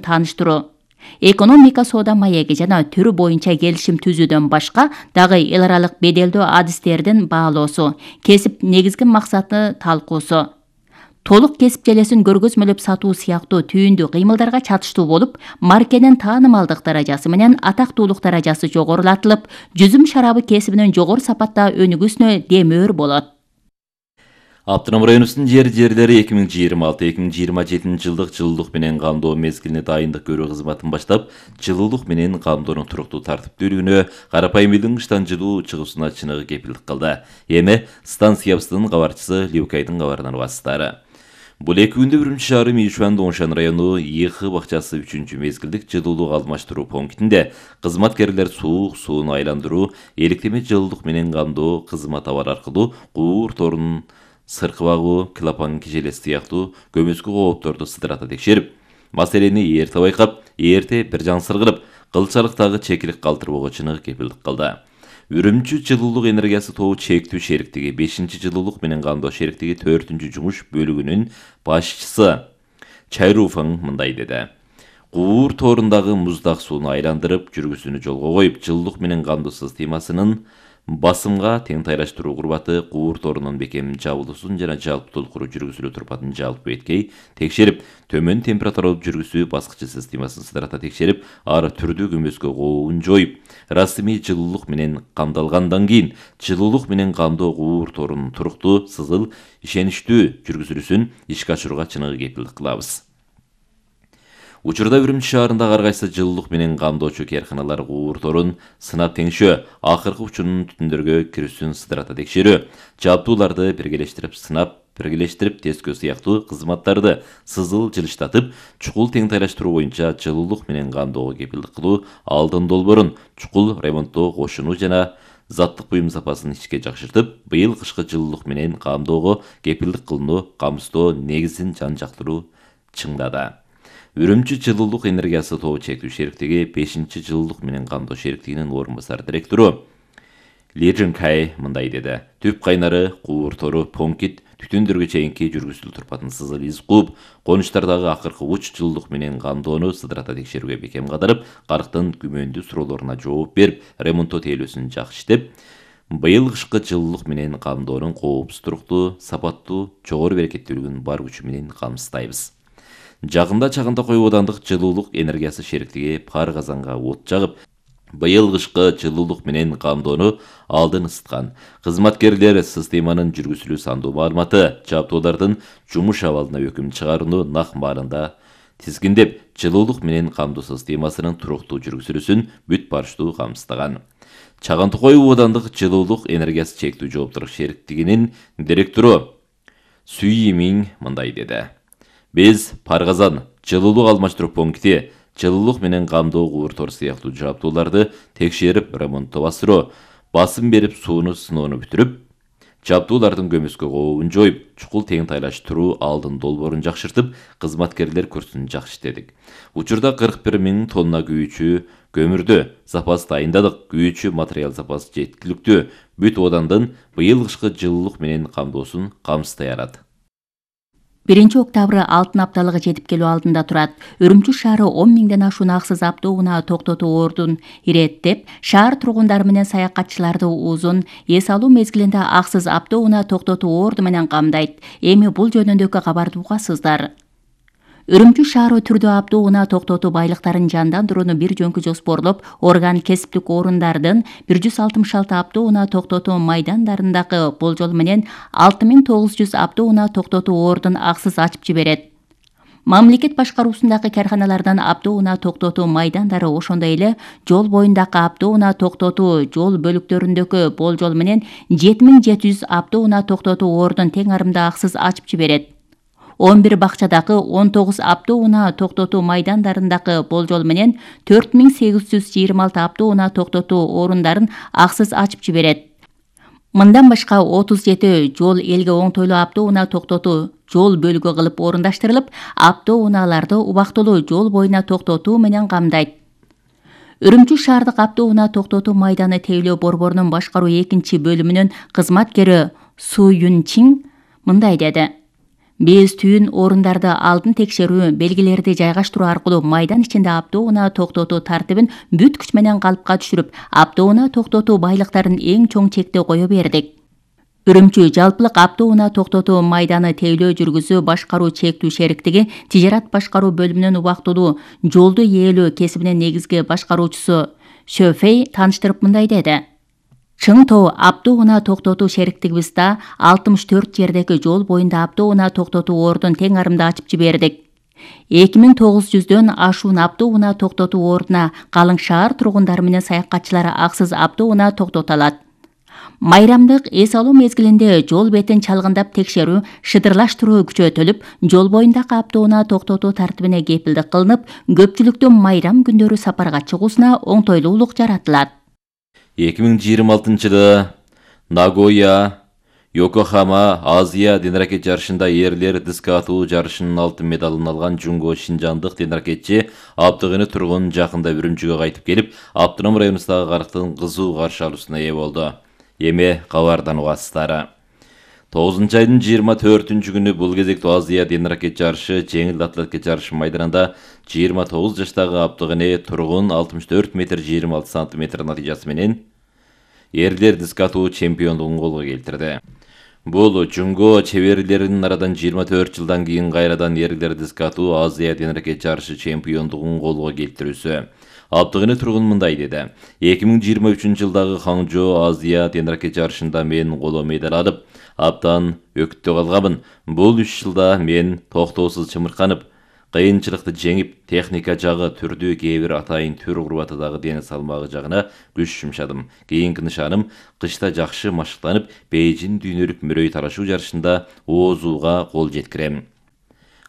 тааныштыруу, экономика соода маеги жана түрү боюнча келишим түзүүдөн башка дагы эл аралык беделдүү адистердин баалоосу, кесип негизги максаты талкуусу, толук кесип желесин көргөзмөлөп сатуу сыяктуу түйүндүү кыймылдарга чатыштуу болуп, маркенин таанымалдык даражасы менен атактуулук даражасы жогорулатылып, жүзүм шарабы кесибинин жогору сапатта өнүгүүсүнө демөөр болот. Автоном районубуздун жерлери 2026-2027 жылдык жылуулук менен камдоо мезгилине дайындык көрүү кызматын баштап, жылуулук менен камдоонун туруктуу тартиптүүлүгүнө, карапайым элдин кыштан жылуу чыгуусуна чыныгы кепилдик кылды. Эми станциябыздын кабарчысы Любкайдын кабарынан угасыздар. Бул 2 күндө Үрүмчү шаары Мишуан Доншан району ИХ бакчасы 3-чү мезгилдик жылуулук алмаштыруу пунктинде кызматкерлер сууну айландыруу, электеме жылуулук менен камдоо кызмат алар аркылуу куур торунун сыркы багуу, клапан кижелеси сыяктуу көмөскө коопторду сыдырата текшерип, маселени эрте байкап, эрте бир жан сыргырып, кылчалыктагы чекилик калтырбоого чыныгы кепилдик кылды. Үрүмчү жылуулук энергиясы тобу чектүү шериктиги 5-чи жылуулук менен камдоо шериктиги 4-чү жумуш бөлүгүнүн башчысы Чайруфаң мындай деди. Куур торундагы муздак сууну айландырып, жүргүсүнү жолго коюп, жылуулук менен камдоо системасынын басымга тең тайлаштыруу курбаты куур торунун бекем жабылуусун жана жалпы толкуруу жүргүзүлүү турпатын жалпы эткей текшерип, төмөн температуралуу жүргүзүү баскычы системасын сыдырата текшерип, ар түрдүү көмөскө кообун жоюп, расмий жылуулук менен камдалгандан кийин жылуулук менен камдоо куур торунун туруктуу, сызыл, ишеничтүү жүргүзүлүүсүн ишке ашырууга чыныгы кепилдик кылабыз. Учурда Үрүмчү шаарындагы ар кайсы жылуулук менен камдоочу кээрканалар куур торун сынап теңшөө, акыркы учунун түтүндөргө кирүүсүн сыдырата текшерүү, жабдууларды биргелештирип сынап, биргелештирип тескөө сыяктуу кызматтарды сызыл жылыштатып, чукул тең тайлаштыруу боюнча жылуулук менен камдоого кепилдик кылуу, алдын долбоорун чукул ремонттоо кошунуу жана заттык буюм сапасын ичке жакшыртып, быйыл кышкы жылуулук менен камдоого кепилдик кылууну камсыздоо негизин жан-жактыруу чыңдады. Үрүмчү жылуулук энергиясы тобу чектүү шериктиги 5-чи жылуулук менен камдоо шериктигинин орун басар директору Ли Жинкай мындай деди. Түп кайнары, куур тору, понкит, түтүндөргө чейинки жүргүзүлүү турпатын сызыл из кууп, конуштардагы акыркы уч жылуулук менен камдоону сыдырата текшерүүгө бекем кадырып, карктын күмөндүү суроолоруна жооп берип, ремонттоо тейлөөсүн жакшы иштеп, быйыл кышкы жылуулук менен камдоонун коопсуз туруктуу, сапаттуу, жогору берекеттүүлүгүн бар күчү менен камсыздайбыз. Жакында чагында коюп одандык жылуулук энергиясы шериктиги пар казанга от жагып, быйыл кышкы жылуулук менен камдоону алдын ысыткан. Кызматкерлер системанын жүргүзүлүү сандуу маалыматы, жабдуулардын жумуш абалына өкүм чыгарууну нак маалында тизгиндеп, жылуулук менен камдоо системасынын туруктуу жүргүзүлүүсүн бүт барыштуу камсыздаган. Чаган Токой оодандык жылуулук энергиясы чектүү жооптуулук шериктигинин директору Сүй Миң мындай деди. Биз Паргазан жылуулук алмаштыруу пункти жылуулук менен камдоо куур тор сыяктуу жабдууларды текшерип, ремонттоо басыруу, басым берип сууну сыноону бүтүрүп, жабдуулардын көмөскө кообун жоюп, чукул тең тайлаштыруу алдын долбоорун жакшыртып, кызматкерлер курсун жакшы иштедик. Учурда 41 000 тонна күйүүчү көмүрдү запас дайындадык. Күйүүчү материал запасы жеткиликтүү. Бүт одандын быйыл кышкы жылуулук менен камдоосун камсыздай алат. 1-октябрь алтын апталыгы жетип келүү алдында турат. Үрүмчү шаары 10 000ден ашуун аксыз автоунаа токтотуу ордун иреттеп, шаар тургундары менен саякатчыларды узун эс алуу мезгилинде аксыз автоунаа токтотуу орду менен камдайт. Эми бул жөнүндөгү кабарды угасыздар. Үрүмчү шаары түрдүү автоунаа токтотуу байлыктарын жандандырууну бир жөнкү жоспорлоп, орган кесиптик орундардын 166 автоунаа токтотуу майдандарындагы болжол менен 6900 автоунаа токтотуу ордун аксыз ачып жиберет. Мамлекет башкаруусундагы каарханалардан автоунаа токтотуу майдандары, ошондой эле жол боюндагы автоунаа токтотуу жол бөлүктөрүндөгү болжол менен 7700 автоунаа токтотуу ордун тең арымда аксыз ачып жиберет. 11 бакчадагы 19 автоунаа токтотуу майдандарындагы болжол менен 4826 автоунаа токтотуу орундарын аксыз ачып жиберет. Мындан башка 37 жол элге оңтойлуу автоунаа токтотуу жол бөлүгү кылып орундаштырылып, автоунааларды убактылуу жол боюна токтотуу менен камдайт. Үрүмчү шаардык автоунаа токтотуу майданы тейлөө борборунун башкаруу 2-бөлүмүнүн кызматкери Су Юн Чин мындай деди. Биз түйүн орундарды алдын текшерүү, белгилерди жайгаштыруу аркылуу майдан ичинде автоунаа токтотуу тартибин бүт күч менен калыпка түшүрүп, автоунаа токтотуу байлыктарын эң чоң чекте кое бердик. Үрүмчү жалпылык автоунаа токтотуу майданы тейлөө жүргүзүү башкаруу чектүү шериктиги тижарат башкаруу бөлүмүнүн убактылуу жолду ээлөө кесибинин негизги башкаруучусу Шөфей тааныштырып мындай деди. Чың Тоо автоунаа токтотуу шериктигибизде 64 жердеги жол боюнда автоунаа токтотуу ордун тең арымда ачып жибердик. 2900дөн ашуун автоунаа токтотуу ордуна калың шаар тургундары менен саякатчылар аксыз автоунаа токтото алат. Майрамдык эс алуу мезгилинде жол бетин чалгындап текшерүү, шыдырлаштыруу күчөтүлүп, жол боюндагы автоунаа токтотуу тартибине кепилдик кылынып, көпчүлүктүн майрам күндөрү сапарга чыгуусуна оңтойлуулук жаратылат. 2026-жылы Нагоя, Йокохама Азия денракет жарышында эрлер диске атуу жарышынын алтын медалын алган Жунго Шинжандык денракетчи Абдыгыны тургун жакында Үрүмчүгө кайтып келип, Автоном районундагы карыктын кызуу каршы алуусуна ээ болду. Эми кабардан угасыздар. 9 айдын 24-күнү бул кезектүү Азия денракет жарышы жеңил атлетика жарышы майданында 29 жаштагы Абдыгыны тургун 64 метр 26 сантиметр натыйжасы менен эрлер диске атуу чемпиондугун колго келтирди. Бул Жунго чеберлеринин арадан 24 жылдан кийин кайрадан эрлер диске атуу Азия денракет жарышы чемпиондугун колго келтирүүсү. Абдыгыны тургун мындай деди. 2023-жылдагы Ханчжоу Азия денракет жарышында мен коло медаль алып, абдан өкүттө калганмын. Бул 3 жылда мен токтоосуз чымырканып, кыйынчылыкты жеңип, техника жагы, түрдүү кээ бир атайын түр курбаты дагы дене салмагы жагына күч жумшадым. Кийинки нышаным кышта жакшы машыктанып, Бейжин дүйнөлүк мөрөй тарашуу жарышында оозууга кол жеткирем.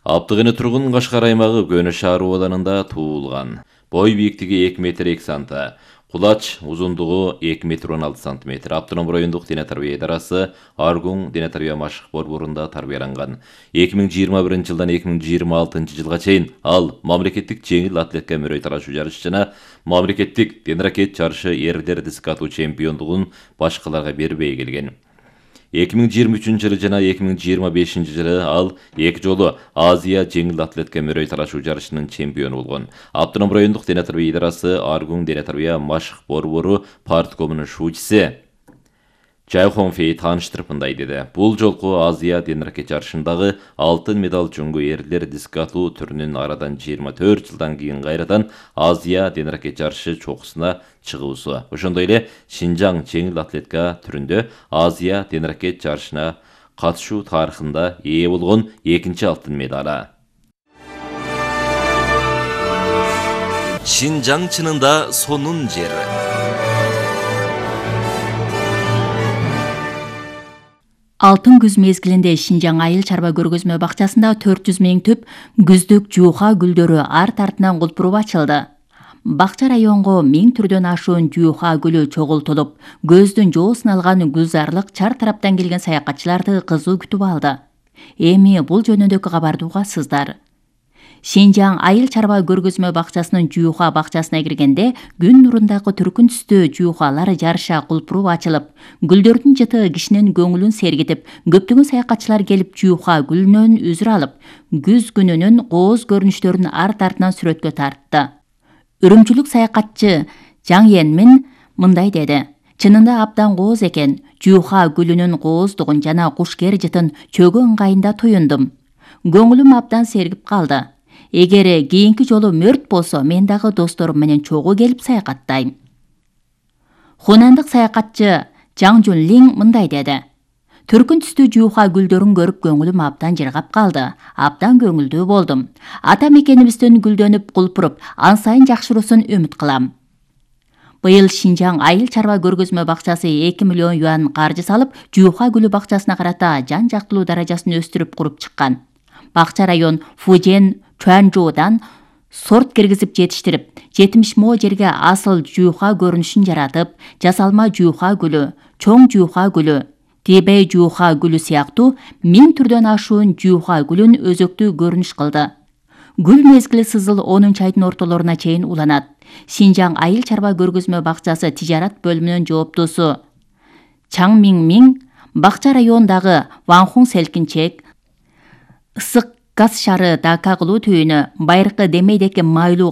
Абдыгыны тургун Кашкар аймагы Көнө шаар абалында туулган. Бой бийиктиги 2 метр 2 санта. Кулач узундугу 2 метр 16 сантиметр. Автоном райондук дене тарбия идарасы Аргун дене тарбия машык борборунда тарбияланган. 2021-жылдан 2026-жылга чейин ал мамлекеттик жеңил атлетика мөрөй тарашуу жарышы жана мамлекеттик денракет жарышы эрлер диске атуу чемпиондугун башкаларга бербей келген. 2023-жылы жана 2025-жылы ал 2 жолу Азия жеңил атлетика мөрөй тарашуу жарышынын чемпиону болгон. Автоном райондук дене тарбия идарасы Аргун дене тарбия машык борбору парткомунун шуучусу Чайхонфей тааныштырып мындай деди. Бул жолку Азия денракет жарышындагы алтын медаль Жунго эрлер диске атуу түрүнүн арадан 24 жылдан кийин кайрадан Азия денракет жарышы чокусуна чыгуусу. Ошондой эле Шинжаң жеңил атлетика түрүндө Азия денракет жарышына катышуу тарыхында ээ болгон 2-чи алтын медалы. Шинжаң чынында сонун жер. Алтын күз мезгилинде Шинжаң айыл чарба көргөзмө бакчасында 400 миң түп күздүк жууха гүлдөрү арт артынан кулпуруп ачылды. Бакча районго 1000 түрдөн ашуун жууха гүлү чогултулуп, көздүн жоосун алган гүлзарлык чар тараптан келген саякатчыларды кызуу күтүп алды. Эми бул жөнүндөгү кабарды угасыздар. Шинжаң айыл чарба көргөзмө бакчасынын жууха бакчасына киргенде күн нурундагы түркүн түстүү жуухалар жарыша кулпуруп ачылып, гүлдөрдүн жыты кишинин көңүлүн сергитип, көптөгөн саякатчылар келип жууха гүлүнөн үзүр алып, күз күнүнүн кооз көрүнүштөрүн арт артынан сүрөткө тартты. Үрүмчүлүк саякатчы Жаң Енмин мындай деди. Чынында абдан кооз экен. Жууха гүлүнүн кооздугун жана кушкер жытын чөгө ыңгайында туюндум. Көңүлүм абдан сергип калды. Эгер кийинки жолу мөрт болсо, мен дагы досторум менен чогуу келип саякаттайм. Хунандык саякатчы Жаң Жунлин мындай деди. Түркүн түстүү жууха гүлдөрүн көрүп көңүлүм абдан жыргап калды. Абдан көңүлдүү болдум. Ата мекенибиздин гүлдөнүп кулпуруп, ан сайын жакшыруусун үмүт кылам. Быйыл Шинжаң айыл чарба көргөзмө бакчасы 2 миллион юан каржы салып, жууха гүлү бакчасына карата жан жактылуу даражасын өстүрүп куруп чыккан. Бакча район Фужен, Чуанчжоудан сорт киргизип жетиштирип, 70 мо жерге асыл жууха көрүнүшүн жаратып, жасалма жууха гүлү, чоң жууха гүлү, Тибей жууха гүлү сыяктуу 1000 түрдөн ашуун жууха гүлүн өзөктүү көрүнүш кылды. Гүл мезгили сызыл 10 айдын ортолоруна чейин уланат. Шинжаң айыл чарба көргөзмө бакчасы тижарат бөлүмүнүн жооптусу Чаң Миң бакча райондагы Ванхун селкинчек, ысык газ шары дака кылуу түйүнү байыркы демейдеки майлуу